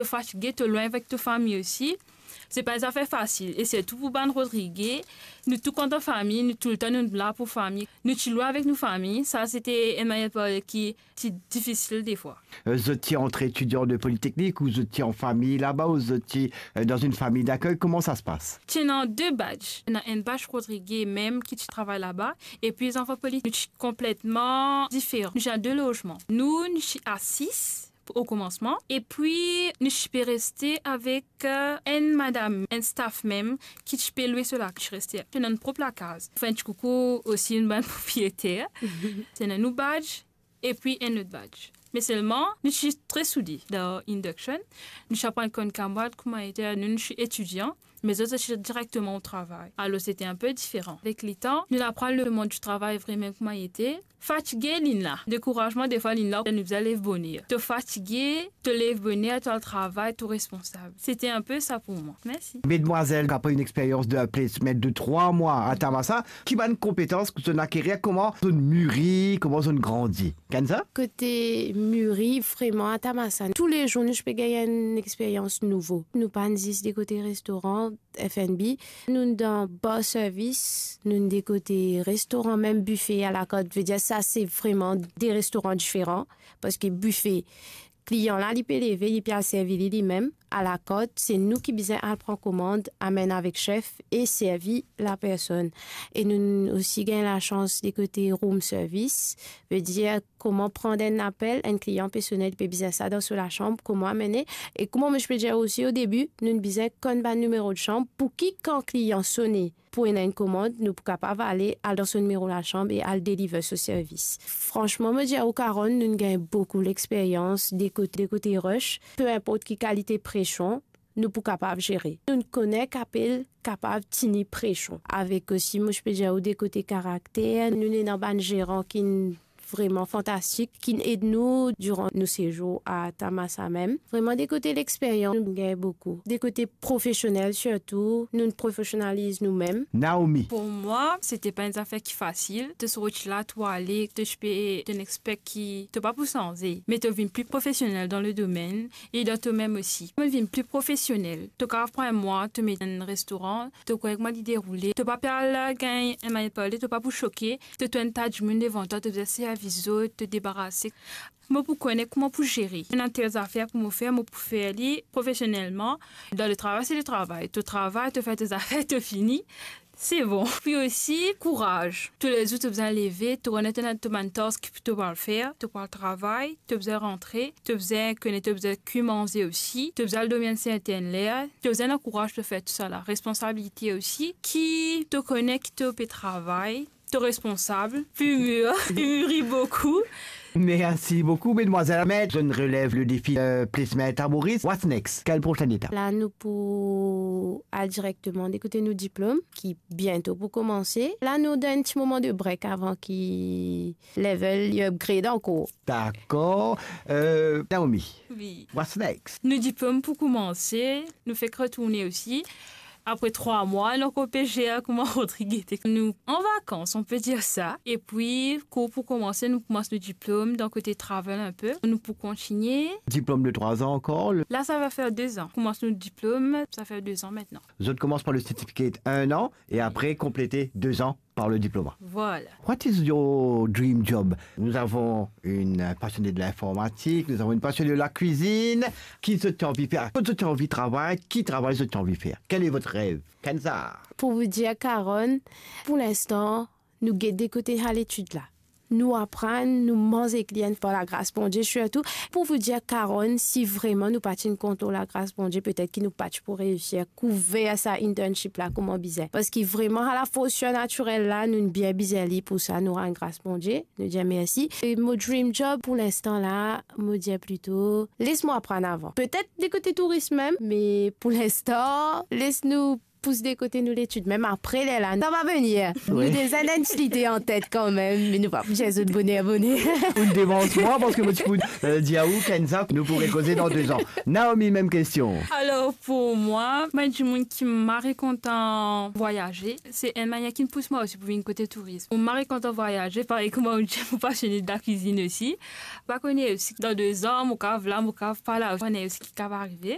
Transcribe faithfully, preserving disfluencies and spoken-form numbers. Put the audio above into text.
To fatige, to lwin avek to fami osi. Se pa enn zafer fasil, e sirtou pou bann Rodrige, nou tou kontan fami, nou toultan nou la pou fami. Nou ti lwin avek nou fami, sa se ti enn manier parle ki ti difisil defwa. Euh, zot ti ant etidian de politeknik, ou zot ti an fami laba, ou zot ti, euh, dan enn fami dakey? Kouma sa se pas? Ti ena de badge. Ena enn badge Rodrige mem ki ti travay laba, epi zanfan politeknik, nou ti konpletman diferan. Nou ti ena de lozman. Nou, nou ti a sis o komansman, epi nou ti pe reste avek, euh, enn madam, enn staff mem, ki ti pe lwe so la, ki ti reste. Ti ena nou prop lakaz. Fer enn ti koukou osi nou bann propriyeter. Ti ena nou badge, epi enn lot badge. Me selman, nou ti tre soude dan induction. Nou ti aprann konn kamarad, kouma ete, nou, nou ti etidian, me zot, zot ti direkteman o travay. Alor, se ti enn pe diferan. Avek letan, nou aprann lemond di travay vremem kouma ete. Fatige, linn la. Dekourazman, defwa, linn la, nou bizin lev boner. To fatige, to lev boner, to al travay, to responsab. Se ti enn pe sa pou mwa. Mersi. Medmwazel, apre enn experyans de placement de trwa mwa a Tamasa, ki bann konpetans ki zot inn akerir, kouma zot inn miri, kouma zot inn grandi? Kenza? Kote miri, vreman, a Tamasa, toulezour nou ti pe gagn enn experyans nouvo. Nou pa'nn zis de kote restoran, F and B. Nou'nn dan bar service, nou'nn de kote restoran, mem bife alakart. Vedir sa, se vreman de restoran diferan, parski bife, klian la, li pe leve, li pe al servi li, limem. Alakart, se nou ki bizin al pran komand, amenn avek sef e servi lapersonn. E nou'nn osi gagn lasans de kote room service, vedir kouma pran enn apel, enn klian pe sone, li pe bizin sa dan so lasam, kouma amene. E kouma mo ti pe dir osi o debi, nou'nn bizin konn bann nimero de sam, pou ki kan klian sone pou ena enn komand, nou pou kapav ale, al dan so nimero lasam e al deliver so servis. Fransman, mo dir ou, Karonn, nou'nn gagn boukou lexperyans de kote, de kote rush, pe inport ki kalite presion, nou pou kapav zere. Nou'nn kone ki apel kapav tini presion. Avek osi, mo ti pe dir ou, de kote karakter, nou ena bann zeran ki'nn vreman fantastik, ki'nn ed nou diran nou sezour a Tamasa mem. Vreman, de kote lexperyans, nou gagn boukou. De kote profesionel sirtou, nou'nn profesionaliz noumem. Naomi. Pou mwa, se ti pa enn zafer ki fasil. To sorti la, to ale, to ti pe, to inn expect ki to pa pou sanze, me to vinn pli profesionel dan le domenn e dan tomem osi. Mo vinn pli profesionel. To kapav pran mwa, to met enn restoran, to kouma li deroule, to pa pe al gagn enn manier parle, to pa pou soke, to trouv enn ta dimoun devan twa, to bizin servi zot, to debarase. Mo pou kone kouma pou zere. Ena tel zafer pou mo fer, mo pou fer li profesionelman. Dan le travay, se le travay. To travay, to fer to zafer, to fini. Se bon. Pi osi, kouraz. Toulezour, to bizin leve, to renet ena to bann task ki to pou al fer, to pou al travay, to bizin rantre, to bizin kone, to bizin kwi manze osi, to bizin al dormi enn sertenn ler, to bizin ena kouraz pou fer tousala. Responsabilite osi, ki to kone ki to pe travay, to responsab, pi mir, pi miri boukou. Mersi boukou, medmwazel. Met, zot inn relev le defi, euh, placement a Maurice. What's next? Kel prosenn etap? La, nou pou al direkteman de kote nou diplom, ki biento pou koumanse. La, nou dan enn ti moman de break avan ki level li upgrade ankor. Dakor. Euh, Naomi, wi, what's next? Nou diplom pou koumanse, nou fek retourne osi. Apre trwa mwa, nou ankor pe zer kouma Rodrige ete. Nou an vakans, on pe dir sa. Epi, kour pou koumanse, nou koumans nou diplom, dan kote travel enn pe. Nou pou kontigne. Diplom de trwa an ankor? La, sa va fer de an. Koumans nou diplom, sa fer de an aster. Zot koumans par le certificate enn an, e apre konplete de an par le diplom. Voilà. What is your dream job? Nous avons une passionnée de l'informatique, nous avons une passionnée de la cuisine. Ki zot anvi fer? Kot zot anvi travay? Ki travay zot anvi fer? Quel est votre rêve? Kenza. Pou vou dir, Karonn, pou linstan, nou get de kote al etid la. Nou aprann, nou manz ek li enn par lagras Bondie, sirtou. Pou vou dir, Karonn, si vreman nou pa ti inn kontan lagras Bondie, petet ki nou pa ti pou reisir kouver sa internship la kouma bizin. Parski vreman, ala fors sirnatirel la, nou bien bizin li pou sa, nou rann gras Bondie, nou dir mersi. E mo dream job pou linstan la, mo dir plito, les mwa aprann avan. Petet de kote tourism mem, me pou linstan, les nou pous de kote nou letid, mem apre lerla, sa va venir. Wi. Nou deza ena enn ti lide an tet kanmem, me nou pa pou dir zot boner, boner. Ou devans mwa, parski mo ti pou, euh, dir ou, Kenza, nou pou rekoze dan de an. Naomi, mem kestion. Alor, pou mwa, mwa dimoun ki mari kontan vwayaze, se enn manier ki pous mwa osi pou vinn kote tourism. Mo mari kontan vwayaze, parey kouma ou dir, mo pasione de lakwizinn osi. Pa kone osi, dan de an, mo kav la, mo kav pa la, pa kone osi ki kav arive.